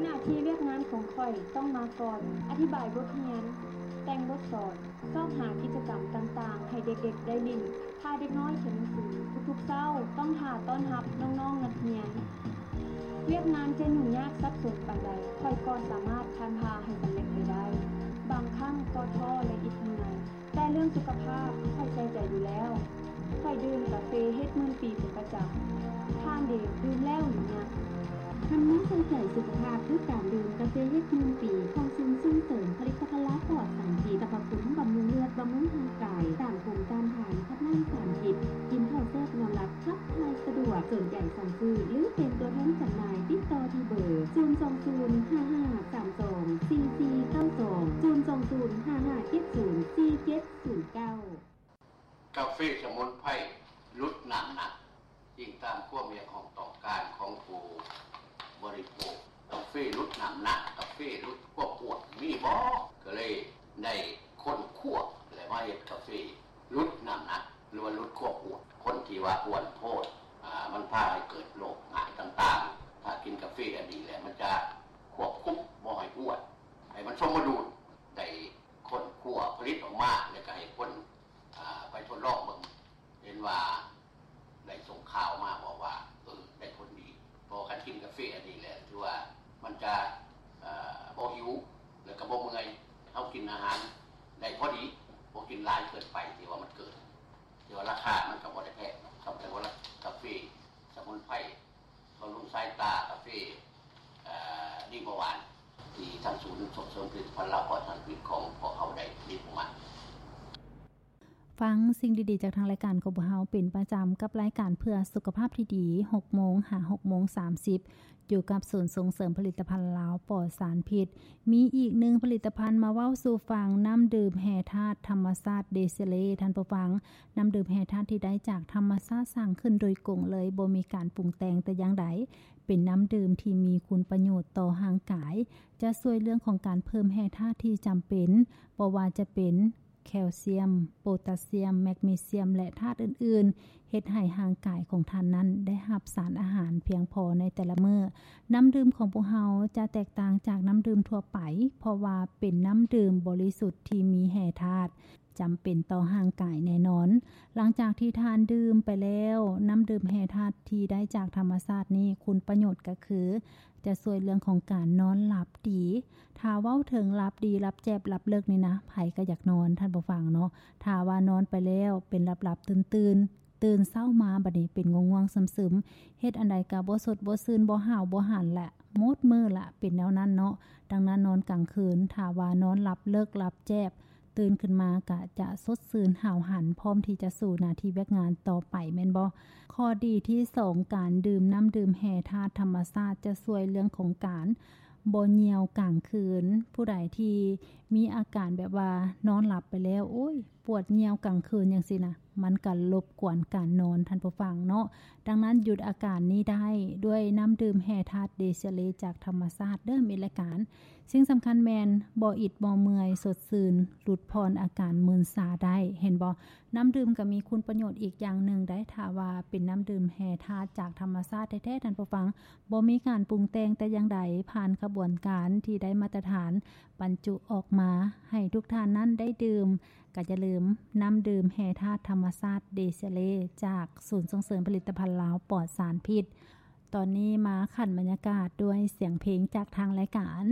ໜ້າທີ່ວຽກງານຂອງຂ້ອຍຕ້ອງມາກ່ອນ, ອະທິບາຍບົດຮຽນ, ແຕ່ງບົດສອນ, ຊອກຫາກິດຈະກຳຕ່າງໆໃຫ້ເດັກໆໄດ້ຫຼິ້ນ. ພາເດັກນ້ອຍຮຽນໜັງສືທຸກໆເຊົ້າ, ຕ້ອງຖ້າຕ້ອນຮັບນ້ອງໆນັກຮຽນ. ວຽກງານຈະຫຍຸ້ງຍາກສັບສົນປານໃດ, ຂ້ອຍກໍສາມາດຜ່ານຜ່າໃຫ້ສຳເລັດໄປໄດ້. ບາງຄັ້ງກໍທໍ້ ແລະ ອິດເມື່ອຍ, ແຕ່ເລື່ອງສຸຂະພາບ ຂ້ອຍໃສ່ໃຈຢູ່ແລ້ວ. ຂ້ອຍດື່ມກາເຟເຮັດໝື່ນປີເປັນປະຈຳ. ທ່ານເດ ດື່ມແລ້ວຫຼືຍັງ? ຄຳແນະໃສ່ໃຈສຸຂະພາບ ຄືການດື່ມກາເຟເຮັດໝື່ນປີ ຂອງສູນສົ່ງເສີມຜະລິດຕະພັນລາວປອດສານພິດ, ສັບພະຄຸນບຳລຸງເລືອດ, ບຳລຸງຮ່າງກາຍ, ຕ້ານພູມຕ້ານທານ, ຄັດລ້າງສານພິດ, ກິນເຂົ້າແຊບນອນຫຼັບ, ຂັບຖ່າຍສະດວກ. ສົນໃຈສັ່ງຊື້ ຫຼື ເປັນຕົວແທນຈຳໜ່າຍ, ຕິດຕໍ່ທີ່ເບີ ສູນສອງສູນ ຫ້າຫ້າສາມສອງ ສີ່ສີ່ເກົ້າສອງ ສູນສອງສູນ ຫ້າຫ້າເຈັດສູນ ສີ່ເຈັດສູນເກົ້າ. ກາເຟສະໝຸນໄພຫຼຸດນ້ຳໜັກ, ອີງຕາມຄວາມຮຽກຮ້ອງຕ້ອງການຂອງຜູ້ບໍລິໂພກ. ກາເຟຫຼຸດນ້ຳໜັກ, ກາເຟຫຼຸດຄວາມອ້ວນ ມີບໍ່? ກໍເລີຍໄດ້ຄົ້ນຄວ້າ ແລະ ມາເຮັດກາເຟຫຼຸດນ້ຳໜັກ ຫຼືວ່າຫຼຸດຄວາມອ້ວນ. ຄົນທີ່ວ່າອ້ວນໂພດ ອາ ມັນພາໃຫ້ເກີດໂລກຮ້າຍຕ່າງໆ. ຖ້າກິນກາເຟອັນນີ້ແລ້ວ ມັນຈະຄວບຄຸມບໍ່ໃຫ້ອ້ວນ ໃຫ້ມັນສົມມະດຸນ. ໄດ້ຄົ້ນຄວ້າຜະລິດອອກມາ ແລ້ວກໍໃຫ້ຄົນ ອາ ໄປທົດລອງເບິ່ງ ເຫັນວ່າໄດ້ສົ່ງຂ່າວມາບອກວ່າ ເອີ ໄດ້ຜົນດີ. ເພາະວ່າຄັນກິນກາເຟອັນນີ້ແລ້ວ ຖືວ່າມັນຈະ ເອີ ບໍ່ຫິວ ແລ້ວກໍບໍ່ເມື່ອຍ. ເຮົາກິນອາຫານໄດ້ພໍດີ, ບໍ່ກິນຫຼາຍເກີນໄປ ທີ່ວ່າມັນເກີນ. ແຕ່ວ່າລາຄາມັນກໍບໍ່ໄດ້ແພງເນາະ, ຄຳແຕ່ວ່າກາເຟສະໝຸນໄພ ບຳລຸງສາຍຕາ, ກາເຟ ເອີ ດີບໍ່ຫວານ ທີ່ທາງສູນສົ່ງເສີມຜະລິດຕະພັນລາວປອດສານພິດຂອງພວກເຮົາໄດ້ມີຜູ້ມາ. ຟັງສິ່ງດີໆຈາກທາງລາຍການຂອງພວກເຮົາເປັນປະຈຳ ກັບລາຍການເພື່ອສຸຂະພາບທີ່ດີ ຫົກໂມງຫາຫົກໂມງສາມສິບ ຢູ່ກັບສູນສົ່ງເສີມຜະລິດຕະພັນລາວປອດສານພິດ. ມີອີກໜຶ່ງຜະລິດຕະພັນມາເວົ້າສູ່ຟັງ, ນ້ຳດື່ມແຮ່ທາດທຳມະຊາດເດເຊເລ. ທ່ານຜູ້ຟັງ, ນ້ຳດື່ມແຮ່ທາດທີ່ໄດ້ຈາກທຳມະຊາດສ້າງຂຶ້ນໂດຍກົງເລີຍ, ບໍ່ມີການປຸງແຕ່ງແຕ່ຢ່າງໃດ. ເປັນນ້ຳດື່ມທີ່ມີຄຸນປະໂຫຍດຕໍ່ຮ່າງກາຍ, ຈະຊ່ວຍເລື່ອງຂອງການເພີ່ມແຮ່ທາດທີ່ຈຳເປັນ, ບໍ່ວ່າຈະເປັນ ແຄລຊຽມ, ໂປຕາຊຽມ, ແມັກນີຊຽມ ແລະ ທາດອື່ນໆ, ເຮັດໃຫ້ຮ່າງກາຍຂອງທ່ານນັ້ນໄດ້ຮັບສານອາຫານພຽງພໍໃນແຕ່ລະມື້. ນ້ຳດື່ມຂອງພວກເຮົາຈະແຕກຕ່າງຈາກນ້ຳດື່ມທົ່ວໄປ, ເພາະວ່າເປັນນ້ຳດື່ມບໍລິສຸດທີ່ມີແຮ່ທາດຈຳເປັນຕໍ່ຮ່າງກາຍແນ່ນອນ. ຫຼັງຈາກທີ່ທ່ານດື່ມໄປແລ້ວ, ນ້ຳດື່ມແຮ່ທາດທີ່ໄດ້ຈາກທຳມະຊາດນີ້ ຄຸນປະໂຫຍດກໍຄື ຈະຊ່ວຍເລື່ອງຂອງການນອນຫຼັບດີ. ຖ້າເວົ້າເຖິງຫຼັບດີ, ຫຼັບແຈບ, ຫຼັບເລິກນີ້ນະ, ໃຜກໍຢາກນອນ, ທ່ານຜູ້ຟັງເນາະ. ຖ້າວ່ານອນໄປແລ້ວເປັນຫຼັບໆຕື່ນໆ, ຕື່ນເຊົ້າມາບັດນີ້ເປັນງ່ວງໆຊຶມໆ, ເຮັດອັນໃດກໍບໍ່ສົດບໍ່ຊື່ນ, ບໍ່ຫ້າວບໍ່ຫັນລະ, ໝົດມື້ລະ, ເປັນແນວນັ້ນເນາະ. ດັ່ງນັ້ນນອນກາງຄືນ, ຖ້າວ່ານອນຫຼັບເລິກ, ຫຼັບແຈບ, ຕື່ນຂຶ້ນມາກະຈະສົດຊື່ນຫ້າວຫັນ, ພ້ອມທີ່ຈະສູ້ໜ້າທີ່ວຽກງານຕໍ່ໄປແມ່ນບໍ່? ຂໍ້ດີທີສອງ, ການດື່ມນ້ຳດື່ມແຮ່ທາດທຳມະຊາດຈະຊ່ວຍເລື່ອງຂອງການບໍ່ຍ່ຽວກາງຄືນ. ຜູ້ໃດທີ່ມີອາການແບບວ່ານອນຫຼັບໄປແລ້ວ ໂອ້ຍ ປວດຍ່ຽວກາງຄືນຈັ່ງຊີ້ນະ, ມັນກະລົບກວນການນອນ, ທ່ານຜູ້ຟັງເນາະ. ດັ່ງນັ້ນຢຸດອາການນີ້ໄດ້ດ້ວຍນ້ຳດື່ມແຮ່ທາດເດເຊເລຈາກທຳມະຊາດເດີ, ມິດລາຍການ. ສິ່ງສຳຄັນແມ່ນບໍ່ອິດບໍ່ເມື່ອຍ, ສົດຊື່ນ, ຫຼຸດຜ່ອນອາການມຶນຊາໄດ້. ເຫັນບໍ່? ນ້ຳດື່ມກໍມີຄຸນປະໂຫຍດອີກຢ່າງໜຶ່ງໄດ໋. ຖ້າວ່າເປັນນ້ຳດື່ມແຮ່ທາດຈາກທຳມະຊາດແທ້ໆ, ທ່ານຜູ້ຟັງ, ບໍ່ມີການປຸງແຕ່ງແຕ່ຢ່າງໃດ, ຜ່ານຂະບວນການທີ່ໄດ້ມາດຕະຖານ, ບັນຈຸອອກມາໃຫ້ທຸກທ່ານນັ້ນໄດ້ດື່ມ. ກໍຢ່າລືມ, ນ້ຳດື່ມແຮ່ທາດທຳມະຊາດເດເຊເລ ຈາກສູນສົ່ງເສີມຜະລິດຕະພັນລາວປອດສານພິດ. ຕອນນີ້ມາຂັນບັນຍາກາດດ້ວຍສຽງເພງຈາກທາງລາຍການ.